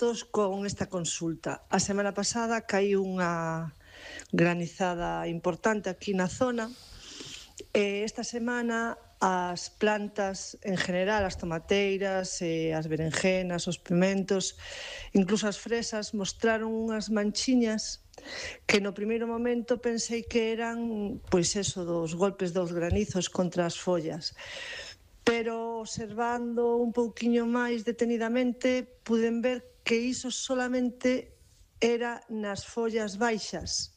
datos con esta consulta. A semana pasada caiu unha granizada importante aquí na zona. Esta semana as plantas en general, as tomateiras, as berenjenas, os pimentos, incluso as fresas, mostraron unhas manchiñas que no primeiro momento pensei que eran, pois eso, dos golpes dos granizos contra as follas. Pero observando un pouquiño máis detenidamente, puden ver que iso solamente era nas follas baixas.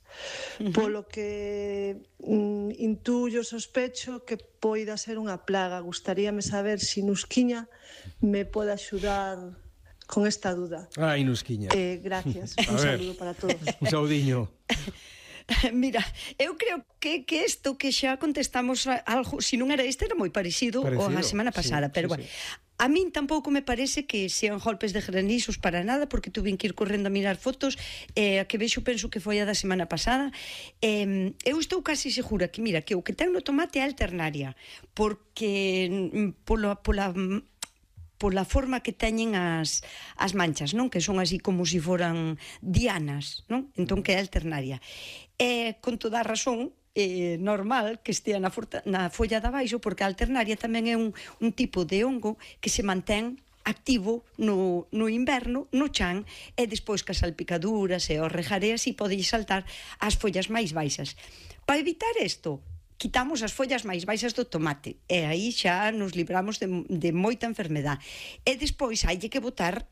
Polo que intuyo, sospecho que poida ser unha plaga. Gustaríame saber se Nusquiña me pode axudar con esta duda. Ai, Nusquiña. Gracias. Un saludo para todos. Un saudiño. Mira, eu creo que isto que xa contestamos algo, se non era este, era moi parecido a semana pasada, pero bueno. A min tampouco me parece que sean golpes de granizos para nada, porque tuve que ir correndo a mirar fotos, a que vexo penso que foi a da semana pasada. Eu estou casi segura que, mira, que o que ten no tomate é alternaria, porque pola forma que teñen as manchas, non? Que son así como se foran dianas, non? Entón que é alternaria. Con toda a razón, normal que estea na folla de abaixo, porque a alternaria tamén é un tipo de hongo que se mantén activo no inverno, no chan, e despois que as salpicaduras e os rejareas e pode saltar as follas máis baixas. Para evitar isto, quitamos as follas máis baixas do tomate e aí xa nos libramos de moita enfermedade. E despois haille que botar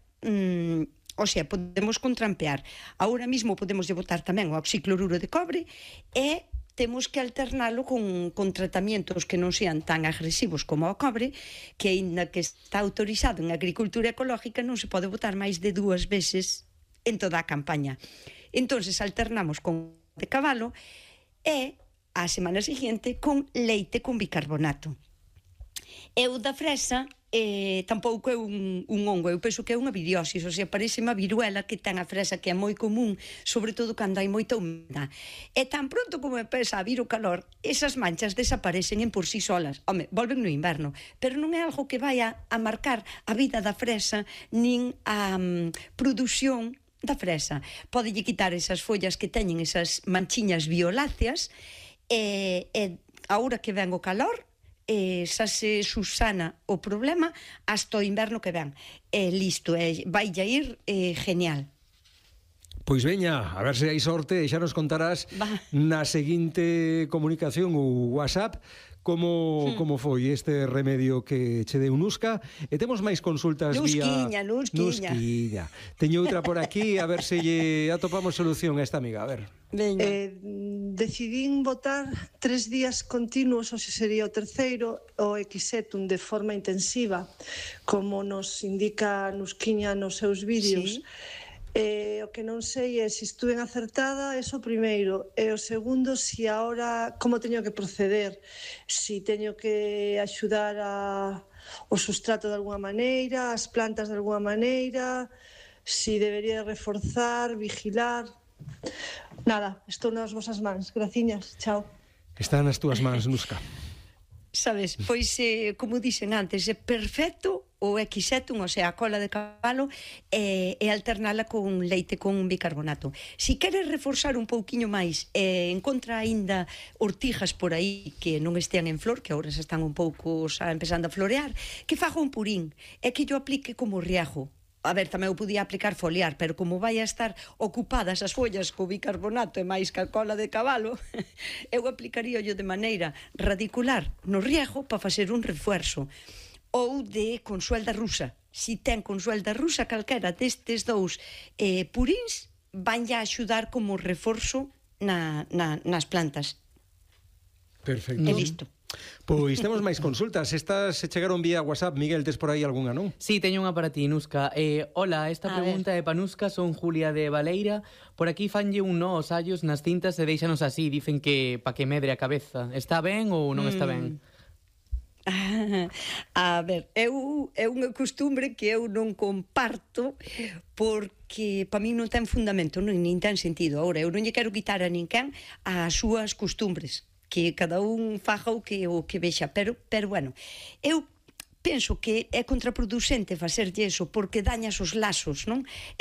o sea, podemos contrampear. Agora mesmo podemos botar tamén o oxicloruro de cobre e temos que alternalo con tratamientos que non sean tan agresivos como o cobre, que aínda que está autorizado en agricultura ecológica non se pode botar máis de 2 veces en toda a campaña. Entonces alternamos con de cabalo e a semana seguinte con leite con bicarbonato. Eu da fresa tampouco é un hongo, eu penso que é unha viriosis, ou sea, parece unha viruela que ten a fresa, que é moi común, sobre todo cando hai moita humedade. E tan pronto como empeza a vir o calor, esas manchas desaparecen en por sí solas. Home, volven no inverno, pero non é algo que vai a marcar a vida da fresa, nin a produción da fresa. Podelle quitar esas follas que teñen esas manchiñas violáceas, e agora que ven o calor, xa se susana o problema hasta o inverno que ven. Listo, vai a ir genial. Pois veña, a ver se hai sorte e xa nos contarás na seguinte comunicación ou WhatsApp como foi este remedio que che deu Nusca. E temos máis consultas vía Nusquiña. Teño outra por aquí, a ver se lle atopamos solución a esta amiga, a ver. Decidín botar 3 días continuos, ou se sería o terceiro, o Equisetum de forma intensiva, como nos indica Nusquiña nos seus vídeos. O que non sei é se estuve acertada, eso primeiro, e o segundo, se agora como teño que proceder, se teño que axudar o sustrato de alguna maneira, as plantas de alguna maneira, se debería reforzar, vigilar. Nada, estou nas vosas mans. Graciñas, chao. Está nas túas mans, Nusca. Sabes, pois, como dixen antes, é perfecto o Equisetum, o sea, a cola de cabalo, e alternala con leite con bicarbonato. Si queres reforzar un pouquiño máis, encontra aínda ortigas por aí que non estean en flor, que agora se están un pouco empezando a florear, que faga un purín, e que yo aplique como riajo. A ver, tamén eu podía aplicar foliar, pero como vai a estar ocupadas as follas co bicarbonato e máis que a cola de cabalo, eu aplicaría yo de maneira radicular no riego para facer un refuerzo. Ou de consuelda rusa. Si ten consuelda rusa, calquera destes dous purins van a axudar como reforzo nas plantas. Perfecto. E listo. Pois temos máis consultas. Estas se chegaron vía WhatsApp. Miguel, tes por aí algunha, non? Sí, teño unha para ti, Nusca. Hola, esta pregunta é para Nusca. Son Julia de Valeira. Por aquí fanlle un nó aos allos nas cintas e deixanos así. Dicen que pa que medre a cabeza. Está ben ou non está ben? A ver, é unha costumbre que eu non comparto, porque para mí non ten fundamento, nin ten sentido. Agora, eu non lle quero quitar a ninguén as súas costumbres, que cada un faja o que vexa, pero bueno, eu penso que é contraproducente facerlle eso porque dañas os lazos, non? E